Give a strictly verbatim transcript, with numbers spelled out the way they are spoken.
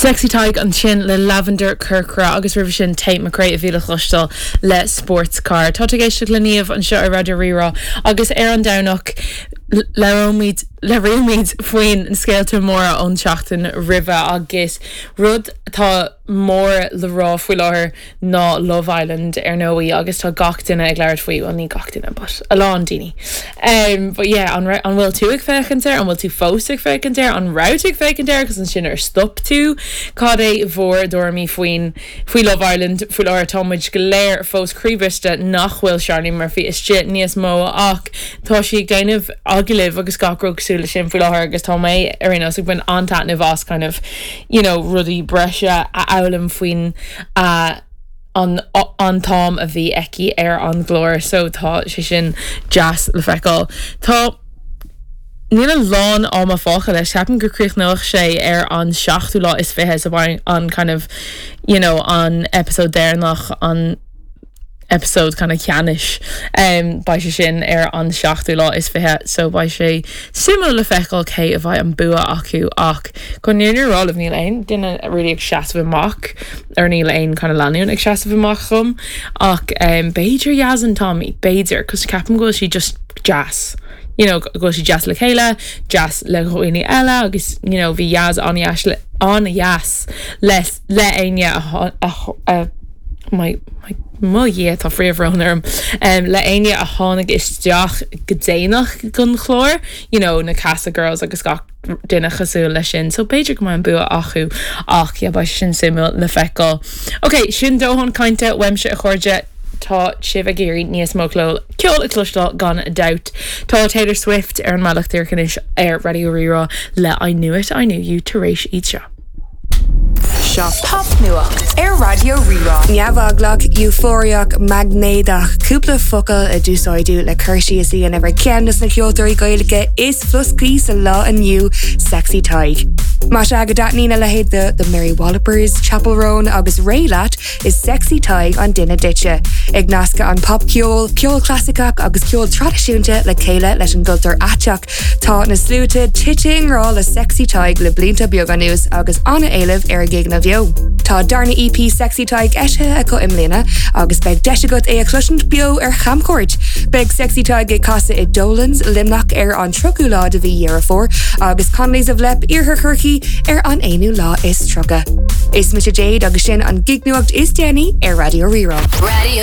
Sexy Tadhg ansin le Lavender Corcra agus roimhe sin Tate McRae a bhí le cloisteáil le Sports Car. Tá ag éisteacht le Niamh anseo ar Raidió Rí-Rá agus ar an Domhnach labhróimid labhróimid faoin scéalta móra ón seachtain roimhe agus rud atá mór le rá faoi láthair ná Love Island ar ndóigh agus tá gach duine ag labhairt faoi well ní gach duine but a lán daoine. Um, but yeah, an, an bhfuil tú ag féachaint air, an bhfuil tú fós ag féachaint air, an raibh tú ag féachaint air agus ansin ar stop tú cad é bhur dtuairimí faoin faoi Love Island faoi láthair táimid go léir fós croíbhriste nach bhfuil Charlie Murphy istigh níos mó ach tá sí ag déanamh agallaimh agus gach rud cosúil leis sin faoi láthair agus tá mé ar aon nós ag baint an-taitneamh as kind of you know, rudaí breise a fhoghlaim faoin uh, an an t-am a bhí aici ar an gclár so tá sé sin deas le feiceáil. Tá Níl a lán ama fágtha leis ceapaim gur críochnóidh sé ar an seachtú lá is fiche sa an kind of you know, an episode deireanach an episode kind of ceannais um, beidh sé sin ar an seachtú lá is fiche so beidh sé suimiúil le feiceáil cé a bheidh an bua acu ach chun an fhírinne a rá níl aon duine really ag seasamh amach ar níl aon kind of lánúin ag seasamh amach chum ach um, b'fhéidir Yaz and Tommy b'fhéidir cos ceapaim go bhfuil sí just deas. You know, go bhfuil sí deas le chéile, deas le dhaoine eile agus you know, bhí Yaz an-deas le an-deas le le éinne a, a, a my my mo Dhia tá fíorbhrón orm um, le éinne a tháinig isteach go déanach don chlár you know, na Casa Girls agus gach duine cosúil leis sin, so b'fhéidir go mbeidh an bua acu ach yeah, beidh sin suimiúil le feiceáil. Ok, sin dóthain cainte uaimse a chairde tá sibh ag iarraidh níos mó ceol ceol a chloisteáil gan dabht. Tá Taylor Swift ar an mbealach anois ar Raidió Rí-Rá le I knew it, I knew you tar éis iad seo. Seo Popnuacht ar Raidió Rí-Rá. Neamheaglach, eufóriach, maighnéadach, cúpla focal a d'úsáideadh le cur síos a dhéanamh ar cheann de na ceoltóirí Gaeilge is floscaí sa lá inniu Sexy Tadhg. Más ea go dtaitníonn a leithéid de The Mary Wallopers, Chappell Roan agus Raye leat is Sexy Tadhg an duine duitse. Ag nascadh an popcheol, ceol clasaiceach agus ceol traidisiúnta le chéile leis an gcultúr aiteach. Tá na sluaite tite i ngrá le Sexy Tadhg le blianta beaga anuas agus an-éileamh ar a gigeanna beo. Tá darna EP Sexy Tadhg eisithe acu i mbliana agus beidh deis agat é a chloisint beo ar chamchuairt. Beidh Sexy Tadhg ag casadh i Dolan's Luimneach ar an tríochú lá de mhí Dheireadh Fómhair agus Connolly's of Leap Iarthar Chorcaí ar an aonú lá is tríocha. Is mise Jade agus sin an gignuacht is déanaí ar Raidió Rí-Rá. Radio